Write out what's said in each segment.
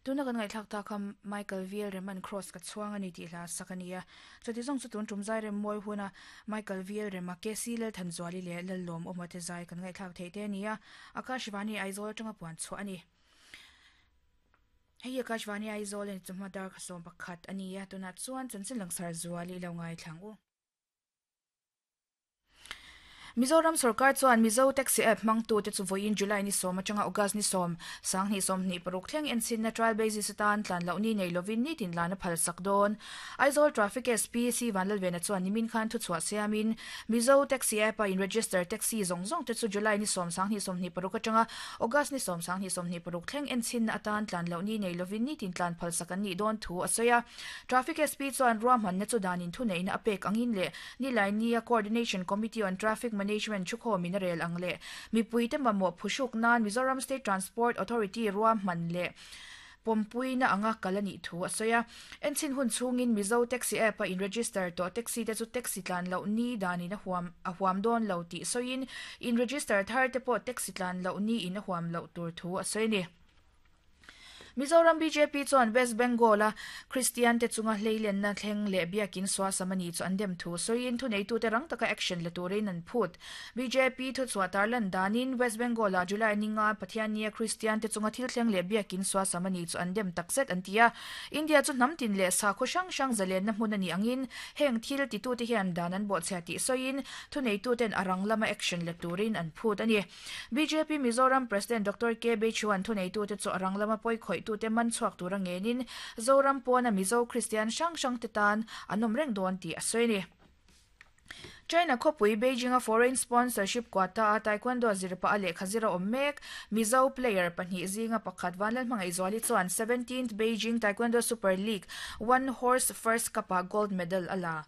Tuna kan ngaihthlak tak kha Michael Viel Reman Cross ka chhuang a ni tih hla sak a ni a. Chuti zawng chu tun tum zai rem mawi huna Michael Viel Rema KC Lalthanzuali leh Lallawmawma te zai kan ngaihthlak theih te a ni a. Akashvani Aizawl atanga puan chhuah a ni. Hei hi Akashvani Aizawl a ni chawhma dar kha 11 a ni a. Tunah chuan chanchin langsar zual i lo ngaithlang u. Mizoram sorkar chuan Mizo Taxi App hmangtute chu vawiin July ni sawm atanga August ni sawm, sanghnih sawmhnih paruk thleng enchhinna trial basis atan tlan loh ni nei lovin nitin lan a phal sak dawn. Aizawl Traffic SP C Vanlalvena chuan nimin khan thuchhuah siamin Mizo Taxi App a in register taxi zawng zawng te chu July ni sawm, sanghnih sawmhnih paruk atanga August ni sawm, sanghnih sawmhnih paruk thleng enchhinna atan tlan loh ni nei lovin nitin tlan phal sak an nih dawn thu a sawi a. Traffic SP chuan ruahmanna chu danin thuneihna a pek angin leh Nilaini-a Coordination Committee on Traffic Management thukhawmin a rel ang leh mipuite mamawh phuhruk nan Mizoram State Transport Authority ruahman leh pawmpuina anga kal a nih thu a sawi a. Enchhin hun chhungin Mizo Taxi App-a in-register tawh taxi te chu taxi tlan loh ni danin a huam a huam dawn lo tih sawiin in-register thar te pawh taxi tlan loh niin a huam loh tur thu a sawi a ni. Mizoram bjp chuan West Bengal-a Kristian te chunga hleilenna thleng leh biakin suasam a ni chu an dem thu sawiin thuneitute rang taka action la turin an phut. Bjp thuchhuah tarlan danin West Bengal-ah July ninga Pathiannia Kristian te chunga thil thleng leh biakin suasam a ni chu an dem takzet an ti a. India chu hnam tin leh sakhaw hrang hrang zalenna hmun a nih angin heng thil titute hian dan an bawhchhia tih sawiin thuneituten a rang lama action la turin an phut a ni. Bjp Mizoram President Doctor K Beichuan thuneitute chu a rang lama pawi khawihtute man chhuak tura ngenin Zoram pawna Mizo Kristian hrang hrangte tan an awm reng dawn tih a sawi a ni. China khawpui Beijing-a foreign sponsorship quota-a Taekwondo zir pah a lehkha zir a awm mek. Mizo player pahnih zinga pakhat Vanlalhmangaihzuali chuan 17th Beijing Taekwondo Super League One Horse First Cup-ah gold medal a la.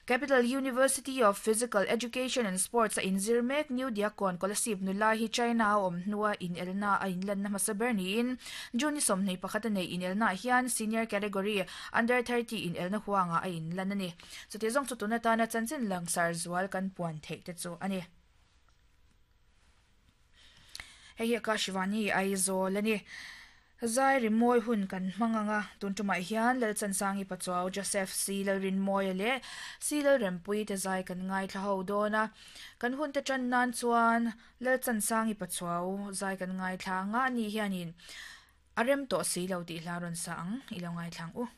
Capital University of Physical Education and Sports a inzir mek New Diakon Kolasib nula hi China a awm hnua inelna a inlanna hmasa ber niin June ni 21 a neih inelnaah hian Senior Category Under 30 inelna huangah a inlan a ni. Chuti zawng chu tun atana chanchin langsar zual kan puan theih te chu a ni. Hei hi Akashvani Aizawl a ni. Zai rimawi hun kan hmang ang a, tun tumah hian Lalchansangi Pachuau, Joseph C. Lalrinmawia leh C. Lalrempuii te zai kan ngaithla ho dawn a. Kan hun te tan nan chuan Lalchansangi Pachuau zai kan ngaithla ang a, ani hianin a rem tawh si lo tih hla rawn sa ang i lo ngaithla ang u.